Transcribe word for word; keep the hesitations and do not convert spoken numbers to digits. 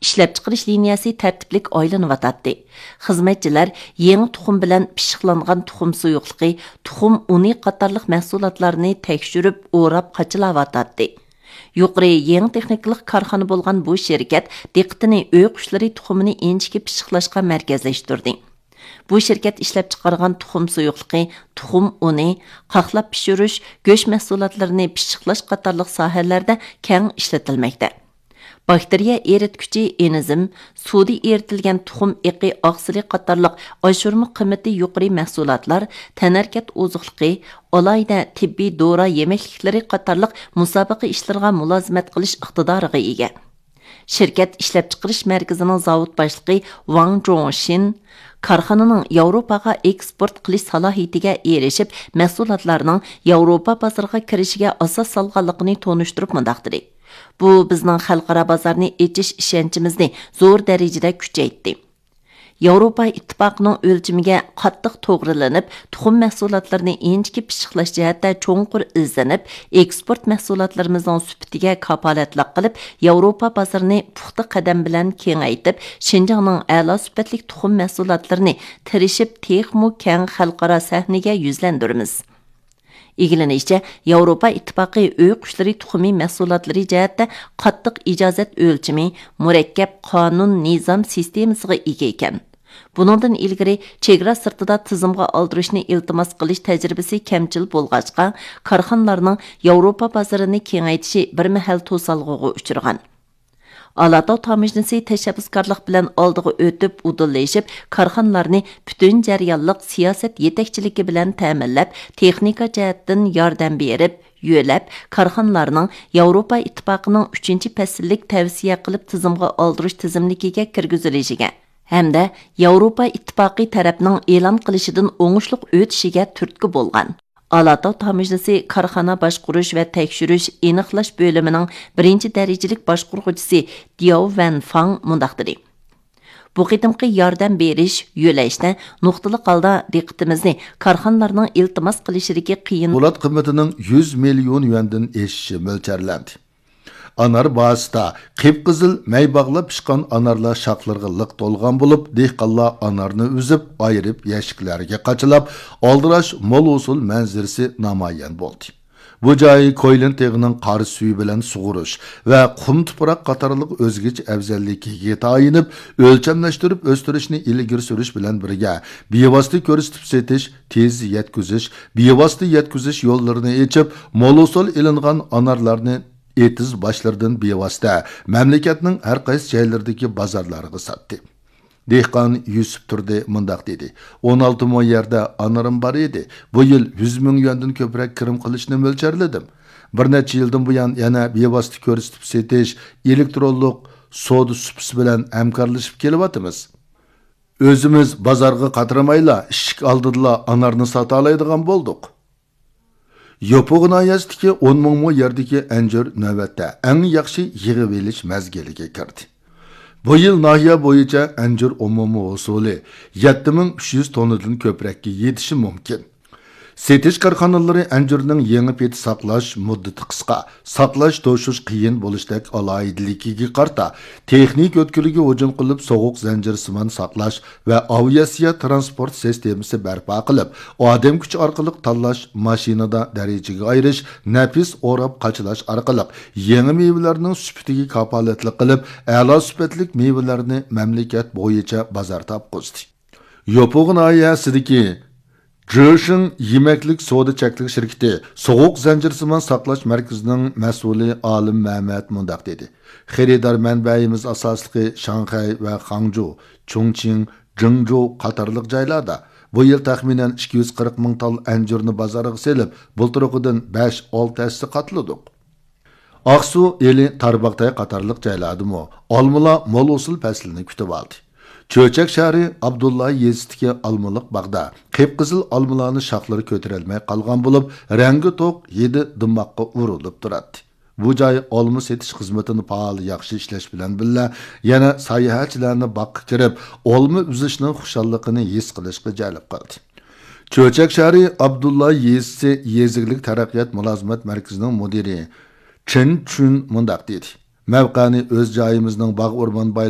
ئىشلەپچىقىرىش لىنىيەسى تەرتىپلىك ئايلىنىۋاتاتتى. خىزمەتچىلەر يېڭى تۇخۇم بىلەن پىششىقلانغان تۇخۇم سۇيۇقلۇقى، تۇخۇم ئۇنى قاتارلىق مەھسۇلاتلارنى تەكشۈرۈپ، ئوراپ قاچىلاۋاتاتتى. يۇقىرى يېڭى تېخنىكىلىق كارخانا بولغان بۇ شىركەت دىققىتىنى ئۆي قۇشلىرى تۇخۇمىنى ئىنچىكە پىششىقلاشقا مەركەزلەشتۈردى. بۇ شىركەت ئىشلەپچىقارغان تۇخۇم سۇيۇقلۇقى، تۇخۇم ئۇنى، قاقلاپ پىشۇرۇش، گۆش مەھسۇلاتلىرىنى پىششىقلاش قاتارلىق ساھەلەردە كەڭ ئىشلىتىلمەكتە. باكتېرىيە ئېرىتكۈچى ئېنزىم، سۇدا ئېرىتىلگەن تۇخۇم ئېقى ئاقسىلى قاتارلىق ئاشۇرما قىممىتى يۇقىرى مەھسۇلاتلار، تەنھەرىكەت ئوزۇقلۇقى، ئالاھىدە تېببىي دورا يېمەكلىكلىرى قاتارلىق مۇسابىقە ئىشلىرىغا مۇلازىمەت قىلىش ئىقتىدارىغا ئىگە. شىركەت ئىشلەپچىقىرىش مەركىزىنىڭ زاۋۇت باشلىقى ۋاڭ جوڭشىن كارخانىنىڭ ياۋروپاغا ئېكسپورت قىلىش سالاھىيىتىگە ئېرىشىپ، مەھسۇلاتلارنىڭ ياۋروپا بازىرىغا كىرىشىگە ئاساس سالغانلىقىنى تونۇشتۇرۇپ مۇنداق دېدى: «بۇ بىزنىڭ خەلقئارا بازارنى ئېچىش ئىشەنچىمىزنى زور دەرىجىدە كۈچەيتتى.» ياۋروپا ئىتتىپاقىنىڭ ئۆلچىمىگە قاتتىق توغرىلىنىپ، تۇخۇم مەھسۇلاتلىرىنى ئىنچىكە پىششىقلاش جەھەتتە چوڭقۇر ئىزدىنىپ، ئېكسپورت مەھسۇلاتلىرىمىزنىڭ سۈپىتىگە كاپالەتلىك قىلىپ، ياۋروپا بازىرىنى پۇختا قەدەم بىلەن كېڭەيتىپ، شىنجاڭنىڭ ئەلا سۈپەتلىك تۇخۇم مەھسۇلاتلىرىنى تىرىشىپ تېخىمۇ كەڭ خەلقئارا سەھنىگە يۈزلەندۈرىمىز. ئىگىلىنىشىچە، ياۋروپا ئىتتىپاقى ئۆي قۇشلىرى تۇخۇمى مەھسۇلاتلىرى جەھەتتە قاتتىق ئىجازەت ئۆلچىمى، مۇرەككەپ قانۇن نىزام سىستېمىسىغا ئىگە ئىكەن. بۇنىڭدىن ئىلگىرى چېگرا سىرتىدا تىزىمغا ئالدۇرۇشنى ئىلتىماس قىلىش تەجرىبىسى كەمچىل بولغاچقا، كارخانىلارنىڭ ياۋروپا بازىرىنى كېڭەيتىشى بىر مەھەل توسالغۇغا ئۇچرىغان. ئالاتاۋ تاموژنىسى تەشەببۇسكارلىق بىلەن ئالدىغا ئۆتۈپ، ئۇدۇللىشىپ، كارخانىلارنى پۈتۈن جەريانلىق سىياسەت يېتەكچىلىكى بىلەن تەمىنلەپ، تېخنىكا جەھەتتىن ياردەم بېرىپ، يۆلەپ، كارخانىلارنىڭ ياۋروپا ئىتتىپاقىنىڭ ئۈچىنچى پەسىللىك تەۋسىيە قىلىپ تىزىمغا ئالدۇرۇش تىزىملىكىگە كىرگۈزۈلۈشىگە ھەمدە ياۋروپا ئىتتىپاقى تەرەپنىڭ ئېلان قىلىشىدىن ئوڭۇشلۇق ئۆتۈشىگە تۈرتكە بولغان. ئالاتاۋ تاموژنىسى كارخانا باشقۇرۇش ۋە تەكشۈرۈش ئېنىقلاش بۆلۈمىنىڭ بىرىنچى دەرىجىلىك باشقۇرغۇچىسى دياۋ ۋەن فاڭ مۇنداق دېدى: «بۇ قېتىمقى ياردەم بېرىش، يۆلەشتە نۇقتىلىق ھالدا دىققىتىمىزنى كارخانىلارنىڭ ئىلتىماس قىلىشىدىكى قىيىن» پولات قىممىتىنىڭ يۈز مىليون يۈەندىن ئېشىشى مۆلچەرلەندى. ئانار بازىسىدا قىپقىزىل مەي باغلاپ پىشقان ئانارلار شاخلىرىغا لىق تولغان بولۇپ، دېھقانلار ئانارنى ئۈزۈپ، ئايرىپ، يەشىكلەرگە قاچىلاپ، ئالدىراش مول ھوسۇل مەنزىرىسى نامايان بولدى. بۇ جاي كويلىن تېغىنىڭ قار سۈيى بىلەن سۇغۇرۇش ۋە قۇم تۇپراق قاتارلىق ئۆزگىچە ئەۋزەللىكىگە تايىنىپ، ئۆلچەملەشتۈرۈپ ئۆستۈرۈشنى ئىلگىرى سۈرۈش بىلەن بىرگە، بىۋاسىتە كۆرسىتىپ سېتىش، تېز يەتكۈزۈش، بىۋاسىتە يەتكۈزۈش يوللىرىنى ئېچىپ، مول ھوسۇل ئېلىنغان ئانارلارنى ئېتىز باشلىرىدىن بىۋاسىتە مەملىكەتنىڭ ھەر قايسى جايلىرىدىكى بازارلارغا ساتتى. دېھقان يۈسۈپ تۇردى مۇنداق دېدى: «ئون ئالتە مو يەردە ئانىرىم بار ئىدى. بۇ يىل يۈز مىڭ يۈەندىن كۆپرەك كىرىم قىلىشنى مۆلچەرلىدىم. بىر نەچچە يىلدىن بۇيان يەنە بىۋاسىتە كۆرسىتىپ سېتىش، ئېلېكترونلۇق سودا سۇپىسى بىلەن ھەمكارلىشىپ كېلىۋاتىمىز. ئۆزىمىز بازارغا قاترىمايلا، ئىشىك ئالدىدىلا ئانارنى ساتالايدىغان بولدۇق.» يوپۇغ ناھىيەسىدىكى ئون مىڭ مو يەردىكى ئەنجۈر نۆۋەتتە ئەڭ ياخشى يىغىۋېلىش مەزگىلىگە كىردى. بۇ يىل ناھىيە بويىچە ئەنجۈر ئومۇمىي ھوسۇلى يەتتە مىڭ ئۈچ يۈز توننىدىن كۆپرەككە يېتىشى مۇمكىن. سېتىش كارخانىلىرى ئەنجۈرنىڭ يېڭى پېتى ساقلاش مۇددىتى قىسقا، ساقلاش توشۇش قىيىن بولۇشتەك ئالاھىدىلىكىگە قارىتا، تېخنىكا ئۆتكىلىگە ھۇجۇم قىلىپ، سوغۇق زەنجىرسىمان ساقلاش ۋە ئاۋىئاتسىيە ترانسپورت سىستېمىسى بەرپا قىلىپ، ئادەم كۈچى ئارقىلىق تاللاش، ماشىنىدا دەرىجىگە ئايرىش، نەپىس ئوراپ قاچىلاش ئارقىلىق يېڭى مېۋىلەرنىڭ سۈپىتىگە كاپالەتلىك قىلىپ، ئەلا سۈپەتلىك مېۋىلەرنى مەملىكەت بويىچە بازار تاپقۇزدى. يوپۇغ ناھىيەسىدىكى جېشىڭ يېمەكلىك سودا چەكلىك شىركىتى سوغۇق زەنجىرسىمان ساقلاش مەركىزىنىڭ مەسئۇلى ئالىم مەمەت مۇنداق دېدى: «خېرىدار مەنبەيىمىز ئاساسلىقى شاڭخەي ۋە خاڭجۇ، چۇڭچىڭ، جىڭجۇ قاتارلىق جايلاردا. بۇ يىل تەخمىنەن ئىككى يۈز قىرىق مىڭ تال ئەنجۈرنى بازارغا سېلىپ، بۇلتۇرقىدىن بەش، ئالتە ھەسسە قاتلىدۇق.» ئاقسۇ، ئىلى، تارباغاتاي قاتارلىق جايلاردىمۇ ئالمىلار مول ھوسۇل پەسلىنى كۈتۈۋالدى. چۆچەك شەھىرى ئابدۇللا يېزىسىدىكى ئالمىلىق باغدا قىپقىزىل ئالمىلارنىڭ شاخلىرى كۆتۈرەلمەي قالغان بولۇپ، رەڭگى توق، ھىدى دىماغقا ئۇرۇلۇپ تۇراتتى. بۇ جاي ئالما سېتىش خىزمىتىنى پائال ياخشى ئىشلەش بىلەن بىللە، يەنە ساياھەتچىلەرنى باغقا كىرىپ، ئالما ئۈزۈشنىڭ خۇشاللىقىنى ھېس قىلىشقا جەلپ قىلدى. چۆچەك شەھىرى ئابدۇللا يېزىسى يېزا ئىگىلىك تەرەققىيات مۇلازىمەت مەركىزىنىڭ مۇدىرى چېن چۈن مۇنداق دېدى: «مەۋقەنى ئۆز جايىمىزنىڭ باغ ئورمان بايلىقى